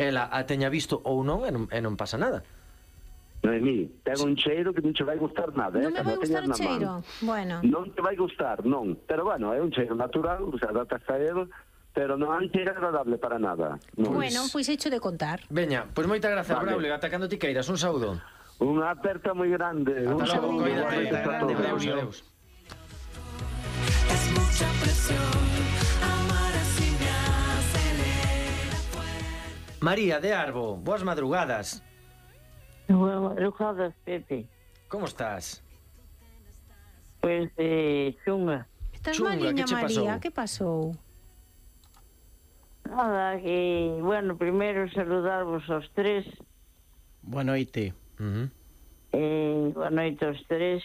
ela a teña visto ou non e non pasa nada. Noemí, ten un cheiro que non che vai gustar nada, Non me vai gustar o cheiro? Bueno. Non te vai gustar, non. Pero bueno, é un cheiro natural, o sea, date a él, pero non é agradable para nada. Non. Bueno, pois hecho de contar. Veña, pois moitas grazas, Vale. Braulio, ata cando ti queiras, un saúdo. Unha aperta moi grande. Ata Un logo, saúdo. coídate, Besos a grande, todos. Braulio. Adeus. Es mucha presión, amar así me acelera fuerte. María de Arbo, boas madrugadas. Boas madrugadas, Pepe. Como estás? Pois, chunga. Estás Chunga, maliña, que che María, pasou? que pasou? Nada, que, bueno, primeiro saludarvos aos tres. Boa noite. Boa noite aos tres.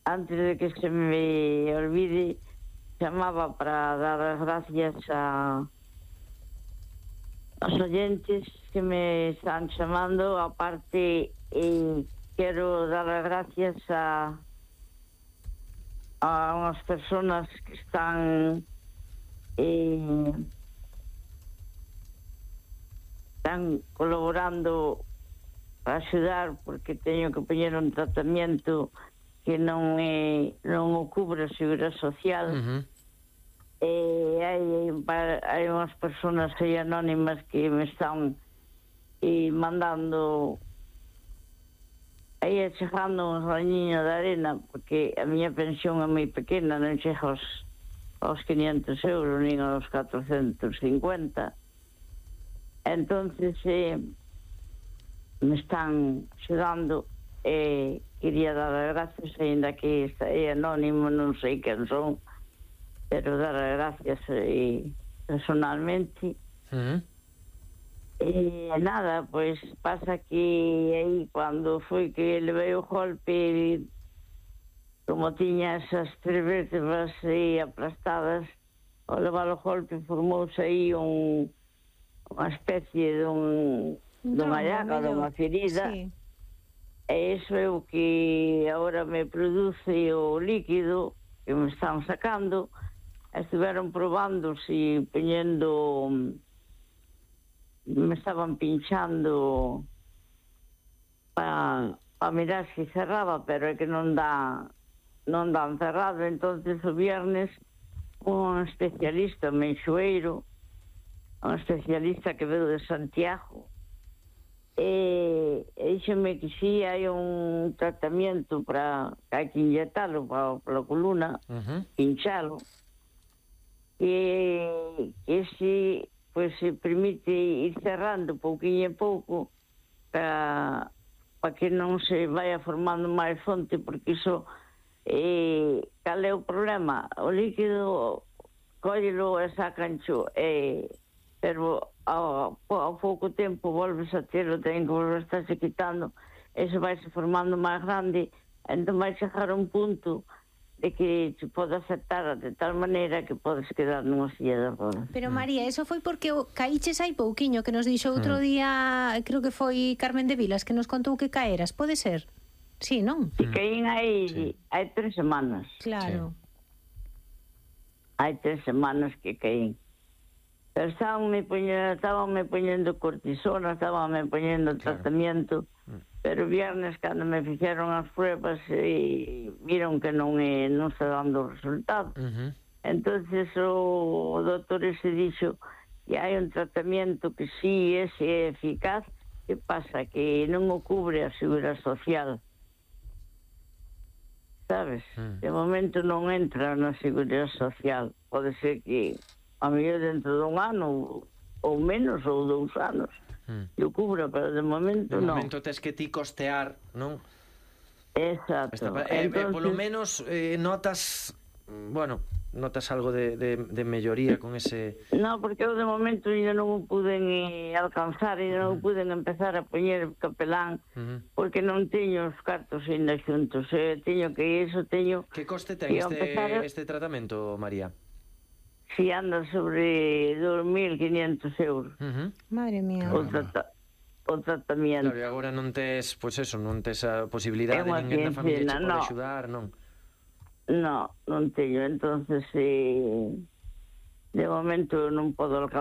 Antes de que se me olvide, chamaba para dar as gracias aos oyentes que me están chamando. Aparte, quero dar as gracias a unhas personas que están colaborando para axudar, porque teño que poñer un tratamento que non o cubre a Seguridade Social. Hai unhas persoas aí anónimas que me están mandando aí chegando un rañiño de arena, porque a miña pensión é moi pequena, non chega aos 500 euros nin aos 450. Entonces me están axudando e quería dar as gracias, ainda que é anónimo, non sei quen son, pero dar as gracias personalmente. Nada, pois pasa que aí cando foi que levei o golpe, como tiña esas 3 vértebras aí aplastadas, ao levar o golpe formouse aí unha especie dunha llaga, dunha ferida. Sí. E iso é o que agora me produce o líquido que me están sacando. Estiveron probando si poñendo, me estaban pinchando para mirar si cerraba, pero é que non dan cerrado. Entonces o viernes un especialista, un menxoeiro, un especialista que veio de Santiago, e díxeme que si hai un tratamento para que hai que inyectalo para a columna, pinchalo, e si pois se permite ir cerrando pouquinho a pouco para que non se vaya formando máis fonte, porque iso cal é o problema? O líquido cóllelo e sacancho, pero ao pouco tempo volves a telo, ten que volver a estarse quitando, eso vai se formando máis grande, entón vai chegar a un punto de que se pode aceptar de tal maneira que podes quedar nunha silla de rodas. Pero María, eso foi porque caíches hai pouquiño, que nos dixo outro día, creo que foi Carmen de Vilas, que nos contou que caeras, pode ser? Sí, non? Si caín hai 3 semanas. Claro. Hai 3 semanas que caín. Pero estabanme poñendo cortisona, estabanme poñendo tratamiento, pero viernes cando me fixeron as pruebas viron que non está dando resultado. Entonces o doutor ese dixo que hai un tratamento que sí é eficaz. Que pasa? Que non o cubre a Seguridade Social, sabes? De momento non entra na Seguridade Social. Pode ser que a mellor dentro dun ano ou menos, ou 2 anos que o cubra, pero de momento non. De momento tes que ti costear, non? Exacto. Entonces, polo menos notas, bueno, notas algo de melloría con ese... No, porque eu de momento ainda non o puden alcanzar, ainda non o puden empezar a poñer capelán, porque non teño os cartos ainda xuntos, teño que iso, teño... Que coste ten este tratamento, María? Si anda sobre 2.500 euros. Madre mía. O tratamento. Claro, e agora non tes, pois eso, non tes a posibilidade, ninguén da familia che pode axudar, non? Non teño, entonces De momento non podo alcanzar